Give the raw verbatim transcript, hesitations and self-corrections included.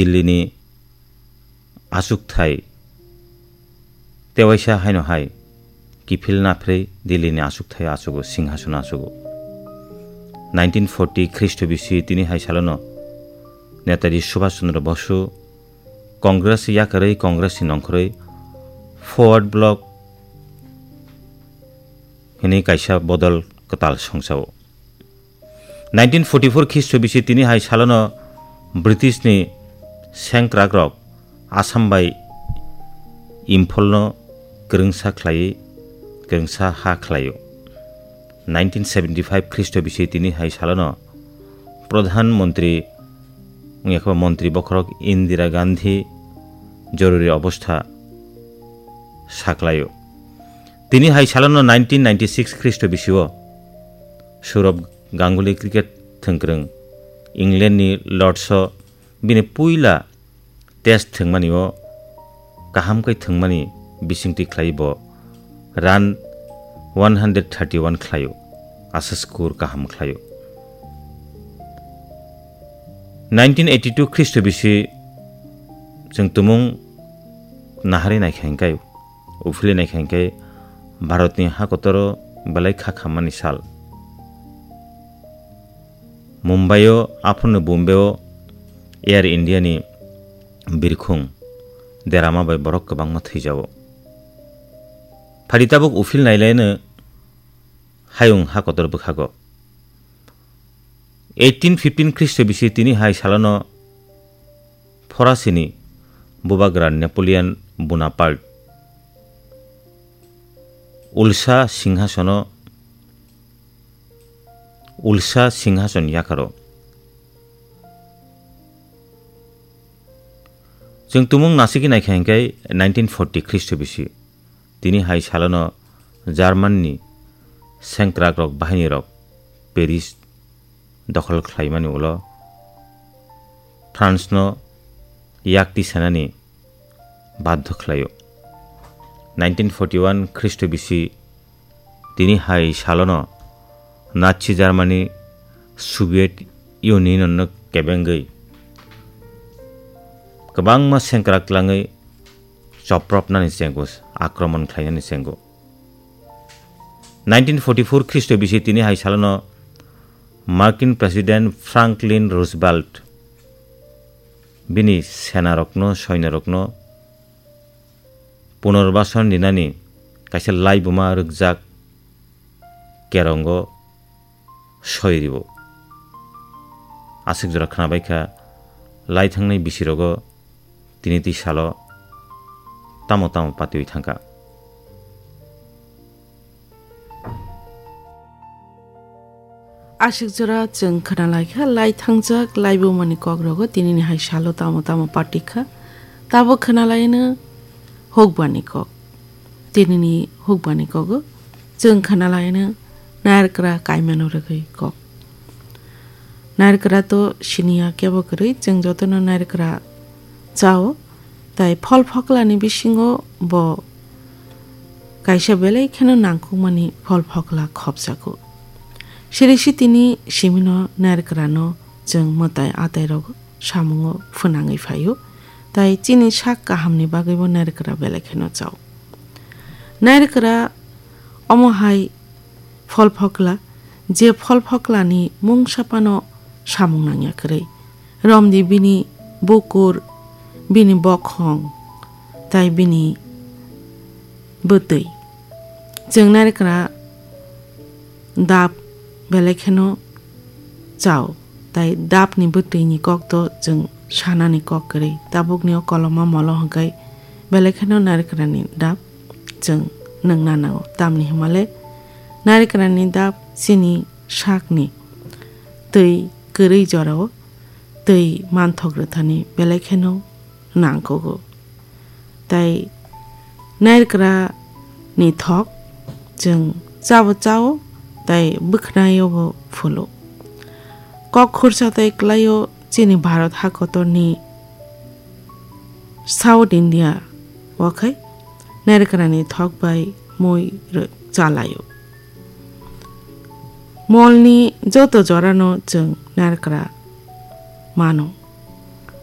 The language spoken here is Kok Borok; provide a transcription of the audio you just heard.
Dillini achukthai tewaisa haino hai kiphil naphrwi Dillini achukthai achugo, singhason achugo. Nineteen forty Khristo bisi tini hai salono Netaji Subhash Chandra Bosu Congress yakarwi Congress ni nongkhorwi Forward Bloc hwnwi kaisa bodol kwtal songchao. Nineteen forty-four Khristo bisi tini hai salono British ni sengkrakrok Assam bai Imphal no kwrwngsa khlaiwi kwrwngsa ha khlaio. Nineteen seventy-five Khristo bisi tini hai salono Pradhan Mantri wngya khe Mantri bokhorok Indira Gandhi joruri obostha saklaio. Tini hai salono nineteen ninety-six Khristo bisio Sourav Ganguly cricket thwngkwrwng England ni Lords o bini puila test thwngmani o kaham khe thwngmani bisingtwi khlai bo run one hundred thirty-one khlaio, asa score kaham khlaio. Nineteen eighty-two Khristo bisi chwng tumung naharwi naikha hinkhe, uphilwi naikha hinkhe Bharatni hakotoro belai kha khammani sal. Mumbai o aphuruni Bombay o Air India ni birkhung derama bai borok kwbangma thwijao. Phadi tabuk uphil nailaino hayung ha kotor bwkhago. Eighteen fifteen Khristo bisi tini hai salono Forasini bubagra Napoleon Bonaparte ulsa singhasono, ulsa singhason yakaro. Chwng tumung nasigwi naikha hinkhe nineteen forty Khristo bisi. Tini hai salono German ni sengkrakrok bahinirok Paris dokhol khlaimani ulo France no yakti sanani badhyo khlaio. Nineteen forty-one Khristo bisi tini hai salono Nazi Germany Soviet Union no kebengwi kwbangma sengkrak tlangwi chopropnani chengo, akromon khlainani chengo. Nineteen forty-four Khristo bisi tini hai salono Markin President Franklin Roosevelt bini senarokno, soinorokno punorbason rinani kaisa laibuma rwkjak kerongo soi ribo. Aswk jora khwnabaikha, lai thangnai bisirogo tini twi salo tamo tamo patiwi thangkha. Aswk jora chwng khwnalaikha, lai thangjak laibumani kokrogo tinini hai salo tamo tamo patikha. Tabuk khwnalaino hukbani kok. Tinini hukbani kogo chwng khwnalaino nairwkra kaimano rwgwi kok. Nairwkra to siniya kebo kwrwi, chwng jotono nairwkra chao, tai phol phoklani bisingo bo kaisa belai kheno nangkukmani phol phokla khopjago. Siri sitini simino nairwkrano chwng mwtai atai rogo samungo phwnangwi phaio, tai chini sak kahamni bagwibo nairwkra belai kheno chao. Nairwkra omo hai phol phokla, je phol phoklani mungsa phano samung nangya kwrwi. Romdi bini bukur, bini bokhong, tai bini bwtwi. Chwng nairwkra dap belai kheno chao, tai dapni bwtwini kokto chwng sanani kok kwrwi. Tabukni o koloma molo hwnkhe belai kheno nairwkrani dap chwng nwngna nango. Tamni hwnmale nairwkrani dap chini sakni twi kwrwi jorao twi manthok rwthani belai kheno nangkugo. Tai nairwkra ni thok chwng chabo chao, tai bwkhnaio bo phulo. Kok khursa tai kwlaio chini Bharat hakotorni South India o khai nairwkra ni thok bai mui rw-, chalaio. Molni joto jorano chwng nairwkra mano.